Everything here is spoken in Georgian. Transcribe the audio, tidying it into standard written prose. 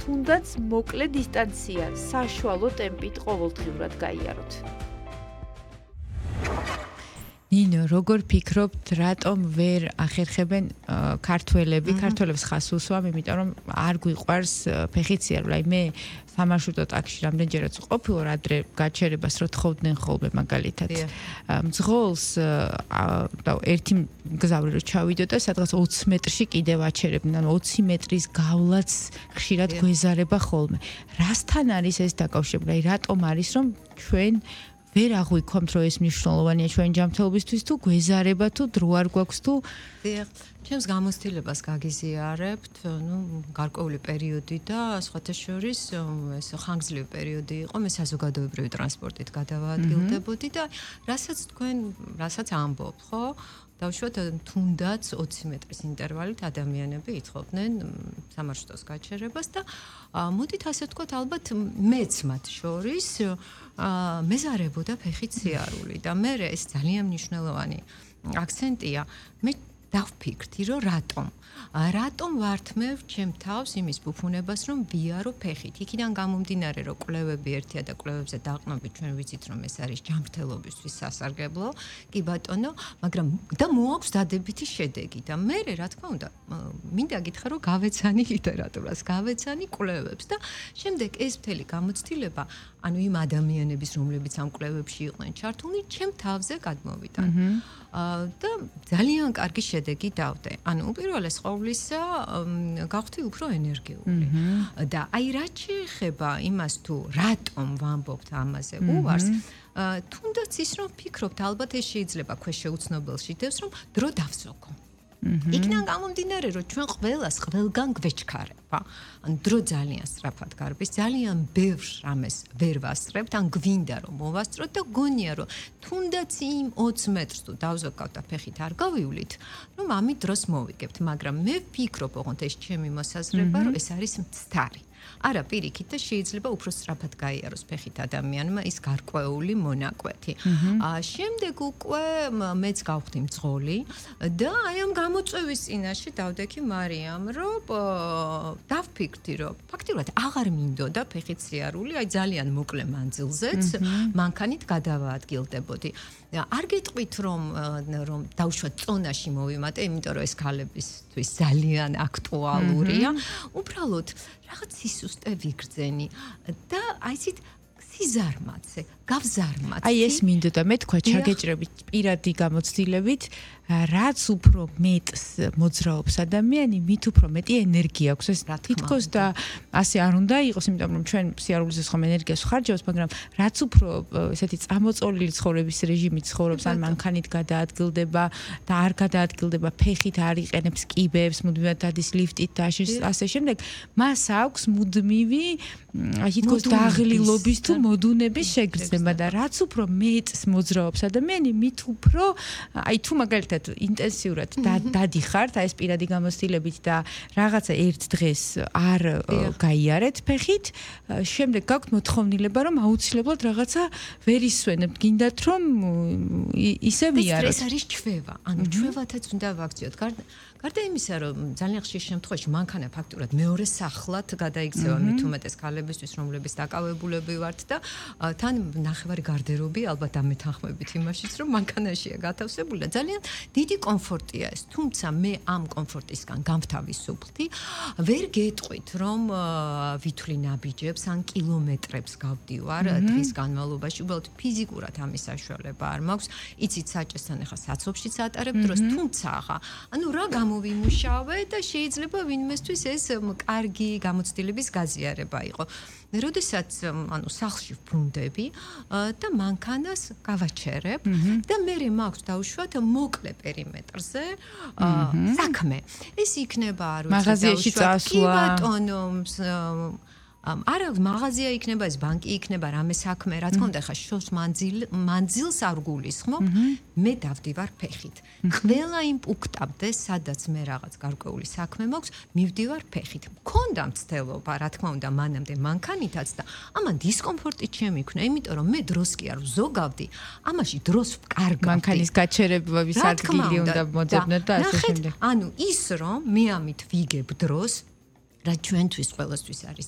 თუნდაც მოკლე დისტანცია, საშუალო ტემპით ყოველდღიურად გაიაროთ. ნინო, როგორ ფიქრობთ, რატომ ვერ ახერხებენ ქართველებს ხას უსვამ, იმიტომ რომ არ გვიყვარს ფეხით სიარული. აი მე სამარშრუტო ტაქსში რამდენჯერაც ყოფილვარ, ადრე გაჩერებას რო თხოვდნენ ხოლმე მაგალითად. მძღოლს და ერთი მგზავრი რო ჩავიდოდა, სადღაც 20 მეტრში კიდევ აჩერებდნენ, ანუ 20 მეტრის გავლაც ხშირად გვეზარება ხოლმე. რასთან არის ეს დაკავშირებული? აი რატომ არის რომ ჩვენ ვერ აღვიქვამთ, რომ ეს მნიშვნელოვანია ჩვენ ჯანმრთელობისთვის თუ გვეზარება თუ დრო არ გვაქვს თუ ჩემს გამოცდილებას გაგიზიარებთ, გარკვეული პერიოდი და სხვათა შორის ეს ხანგრძლივი პერიოდი იყო, მე საზოგადოებრივი ტრანსპორტით გადავაადგილდებოდი და რასაც ამბობთ, ხო? დავუშვათ თუნდაც 20 მეტრის ინტერვალით ადამიანები ითხოვდნენ სამარშრუტოს გაჩერებას და მოდით ასე ვთქვათ, ალბათ მეც მათ შორის მეზარებოდა ფეხით სიარული და მე ეს ძალიან მნიშვნელოვანი აქცენტია. მე დავფიქრდი, რომ რატომ ვართმევ ჩემ თავს იმის ბუფუნებას, რომ ვიარო ფეხით. იქიდან გამომდინარე, რომ კვლევები ერთია და კვლევებზე დაყრდნობით ჩვენ ვიცით, რომ ეს არის ჯანმრთელობისთვის სასარგებლო. კი ბატონო, მაგრამ და მოაქვს დადებითი შედეგი და მე რა თქმა უნდა, მინდა გითხრა, რომ გავეცანი ლიტერატურას, გავეცანი კვლევებს და შემდეგ ეს მთელი გამოცდილება, ანუ იმ ადამიანების, რომლებიც ამ კვლევებში იყვნენ ჩართულნი, ჩემ თავზე გადმოვიდა. და ძალიან კარგი შედეგი დავდე. ანუ უპირველეს ყოვლისა გავხდი უფრო ენერგიული. და აი რაც შეეხება იმას თუ რატომ ვამბობთ ამაზე უვარს, თუნდაც ის რომ ფიქრობთ, ალბათ ეს შეიძლება ქვეშეუცნობელში დევს, რომ დრო დავსოკო. იქიდან გამომდინარე, რომ ჩვენ ყველას ყველგან გვეჩქარება. ან დრო ძალიან სწრაფად გარბის, ძალიან ბევრ რამეს ვერ ვასწრებთ, ან გვინდა რომ მოვასწროთ და გონია რომ თუნდაც იმ 20 მეტრს თუ დავზოგავთ და ფეხით არ გავივლით, რომ ამით დროს მოვიგებთ, მაგრამ მე ვფიქრობ, ოღონდ ეს ჩემი მოსაზრება, რომ ეს არის მცდარი. არა პირიქით და შეიძლება უფრო სწრაფად გაიაროს ფეხით ადამიანმა ის გარკვეული მონაკვეთი. შემდეგ უკვე მეც გავხდი მძღოლი და აი ამ გამოწვევის წინაშე დავდექი მარიამ, რომ დავფიქრდი, რომ ფაქტიურად აღარ მინდოდა ფეხით სიარული, აი ძალიან მოკლე მანძილზეც მანქანით გადავაადგილდებოდი. არ გეტყვით რომ დავუშვათ წონაში მოვიმატე, იმიტომ რომ ეს ქალებისთვის ძალიან აქტუალურია. უბრალოდ რაღაც სისუსტე ვიგრძენი და აი ისეთ სიზარმაცე, გავზარმაცე. აი ეს მინდოდა მე თქვა ჩაგეჭრებით პირადი გამოცდილებით, რაც უფრო მეტს მოძრაობს ადამიანი, მით უფრო მეტი ენერგია აქვს. ეს თითქოს და ასე არ უნდა იყოს, იმიტომ რომ ჩვენ სიარულზე ხომ ენერგიას ვხარჯავთ, მაგრამ რაც უფრო ესეთი წამოწოლილი ცხოვრების რეჟიმით ცხოვრობს, ან მანქანით გადაადგილდება და არ გადაადგილდება ფეხით, არ იყენებს კიბებს, მუდმივად დადის ლიფტით და ასე შემდეგ, მას აქვს მუდმივი აი თითქოს დაღლილობის თუ მოდუნების შეგრძნება და რაც უფრო მეტს მოძრაობს ადამიანი, მით უფრო აი თუ მაგალითად ინტენსიურად დადიხართ აი ეს პირადი გამოცდილებით და რაღაცა ერთ დღეს არ გაიარეთ ფეხით, შემდეგ გაქვთ მოთხოვნილება, რომ აუცილებლად რაღაცა ვერ ისვენებთ, გინდათ რომ ისე ვიაროთ. ეს არის ჩვევა, ანუ ჩვევათაც უნდა ვაქციოთ. გარდა იმისა, რომ ძალიან ხშირ შემთხვევაში მანქანა ფაქტურად მეორე სახლად გადაიქცევა მით უმეტეს ქალებისთვის, რომლებიც დაკავებულები ვართ და თან ნახევარი გარდერობი ალბათ ამეთანხმებით იმაშიც, რომ მანქანაშია გათავსებული და ძალიან დიდი კომფორტია ეს. თუმცა მე ამ კომფორტისგან გამთავისუფლდი, ვერ გეტყვით, რომ ვითვლი ნაბიჯებს ან კილომეტრებს გავდივარ დღის განმავლობაში, უბრალოდ ფიზიკურად ამის საშუალება არ მაქვს. იცით საჭესთან ახლა საცობშიც ატარებ დროს, თუმცა ახლა ანუ რა გამოვიმუშავე და შეიძლება ვინმესთვის ეს კარგი გამოცდილების გაზიარება იყო. როდესაც ანუ სახლში ვბრუნდები და მანქანას გავაჩერებ და მე მაქვს დავუშვათ მოკლე პერიმეტრზე საქმე. ეს იქნება არ ვიცი მაღაზიაში წასვლა. კი ბატონო, არა მაღაზია იქნება, ეს ბანკი იქნება, რამე საქმე, რა თქმა უნდა, ხა შორს მანძილს არ გულისხმობ, მე დავდივარ ფეხით. ყველა იმ პუნქტამდე, სადაც მე რაღაც გარკვეული საქმე მაქვს, მივდივარ ფეხით. მქონდა მცდელობა, რა თქმა უნდა, მანამდე მანქანითაც და ამან დისკომფორტი შემიქნა, იმიტომ რომ მე დროს კი არ ვზოგავდი, ამაში დროს ვკარგავდი. მანქანის გაჩერებების ადგილი უნდა მოძებნოთ და ასე შემდეგ. ანუ ის რომ მე ამით ვიგებ დროს, რა ჩვენთვის ყველასთვის არის